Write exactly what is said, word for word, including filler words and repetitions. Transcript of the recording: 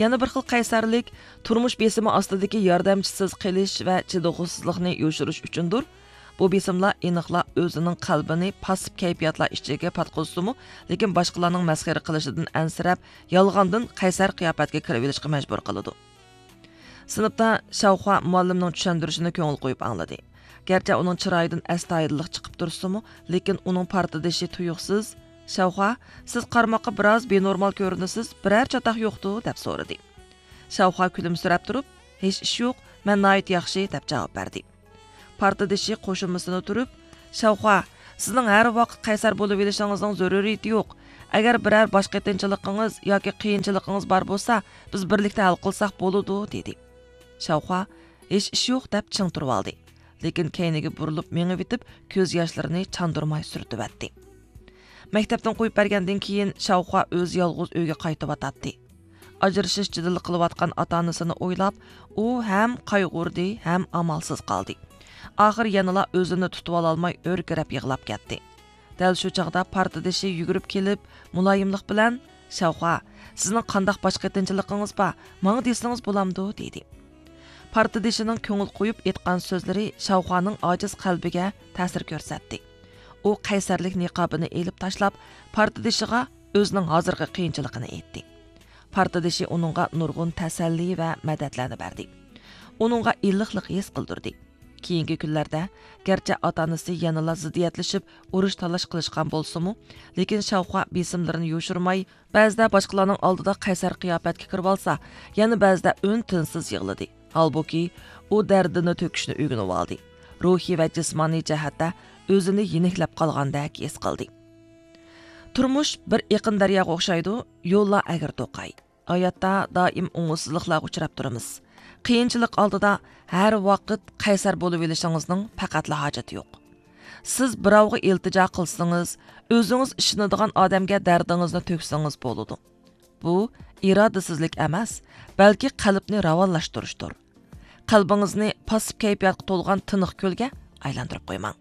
يەنە بىر خىل قەيسەرلىك تۇرمۇش بېسىمى ئاستىدىكى ياردەمچىسىز قېلىش ۋە چىدىغۇسىزلىقنى يوشۇرۇش ئۈچۈندۇر. بۇ بېسىملار ئېنىقلا ئۆزىنىڭ قەلبىنى پاسسىپ كەيپىياتلار ئىچىگە پاتقۇزسىمۇ، لېكىن باشقىلارنىڭ مەسخىرە قىلىشىدىن ئەنسىرەپ، يالغاندىن قەيسەر قىياپەتكە كىرىۋېلىشقا مەجبۇر قىلىدۇ. سىنىپتا شاۋخۇا مۇئەللىمنىڭ چۈشەندۈرۈشىنى كۆڭۈل قويۇپ ئاڭلىدى. گەرچە ئۇنىڭ چىرايىدىن ئەستايىدىللىق چىقىپ تۇرسىمۇ، لېكىن ئۇنىڭ پارتدىشى تۇيۇقسىز، «شاۋخۇا، سىز قارىماققا بىراز بىنورمال كۆرۈنىسىز، بىرەر چاتاق يوقتۇ؟» دەپ سورىدى. شاۋخۇا كۈلۈمسىرەپ تۇرۇپ، «ھېچ ئىش يوق، مەن ناھايىتى ياخشى» دەپ جاۋاب بەردى. پارتدىشى قوشۇمىسىنى تۇرۇپ، «شاۋخۇا، سىزنىڭ ھەر ۋاقىت قەيسەر بولۇۋېلىشىڭىزنىڭ زۆرۈرىيىتى يوق. ئەگەر بىرەر باش قېتىنچىلىقىڭىز ياكى قىيىنچىلىقىڭىز بار بولسا، بىز بىرلىكتە ھەل قىلساق بولىدۇ» دېدى. شاۋخۇا «ھېچ ئىش يوق» دەپ چىڭ تۇرۇۋالدى. لېكىن كەينىگە بۇرۇلۇپ مېڭىۋېتىپ، كۆز ياشلىرىنى چاندۇرماي سۈرتۈۋەتتى. مەكتەپتىن قويۇپ بەرگەندىن كېيىن شاۋخۇا ئۆزى يالغۇز ئۆيگە قايتىۋاتاتتى. ئاجرىشىش جېدىلى قىلىۋاتقان ئاتا-ئانىسىنى ئويلاپ، ئۇ ھەم قايغۇردى، ھەم ئامالسىز قالدى. ئاخىر يەنىلا ئۆزىنى تۇتۇۋالالماي ھۆركىرەپ يىغلاپ كەتتى. دەل شۇ چاغدا پارتدىشى يۈگۈرۈپ كېلىپ، مۇلايىملىق بىلەن، «شاۋخۇا، سىزنىڭ قانداق باش قېتىنچىلىقىڭىز بار؟ ماڭا دېسىڭىز بولامدۇ؟» دېدى. پارتدىشىنىڭ كۆڭۈل قويۇپ ئېيتقان سۆزلىرى شاۋخۇانىڭ ئاجىز قەلبىگە تەسىر كۆرسەتتى. ئۇ قەيسەرلىك نىقابىنى ئېلىپ تاشلاپ، پارتدىشىغا ئۆزىنىڭ ھازىرقى قىيىنچىلىقىنى ئېيتتى. پارتدىشى ئۇنىڭغا نۇرغۇن تەسەللى ۋە مەدەتلەرنى بەردى. ئۇنىڭغا ئىللىقلىق ھېس قىلدۇردى. كېيىنكى كۈنلەردە، گەرچە ئاتا-ئانىسى يەنىلا زىددىيەتلىشىپ، ئۇرۇش-تالاش قىلىشقان بولسىمۇ، لېكىن شاۋخۇا بېسىملىرىنى يوشۇرماي، بەزىدە باشقىلارنىڭ ئالدىدا قەيسەر قىياپەتكە كىرىۋالسا، يەنە بەزىدە ئۈن-تىنسىز يىغلىدى. ھالبۇكى، ئۇ دەردىنى تۆكۈشنى ئۆگىنىۋالدى. روھىي ۋە جىسمانىي جەھەتتە ئۆزىنى يېنىكلەپ قالغاندەك ھېس قىلدى. تۇرمۇش بىر ئېقىن دەرياغا ئوخشايدۇ، يوللار ئەگرى-توقاي. ھاياتتا دائىم ئوڭۇشسىزلىقلارغا ئۇچراپ تۇرىمىز. قىيىنچىلىق ئالدىدا ھەر ۋاقىت قەيسەر بولۇۋېلىشىڭىزنىڭ پەقەتلا ھاجىتى يوق. سىز بىراۋغا ئىلتىجا قىلسىڭىز، ئۆزىڭىز ئىشىنىدىغان ئادەمگە دەردىڭىزنى تۆكسىڭىز بولىدۇ. بۇ ئىرادىسىزلىك ئەمەس، بەلكى قەلبنى راۋانلاشتۇرۇشتۇر. قەلبىڭىزنى پاسسىپ كەيپىياتقا تولغان تىنىق كۆلگە ئايلاندۇرۇپ قويماڭ.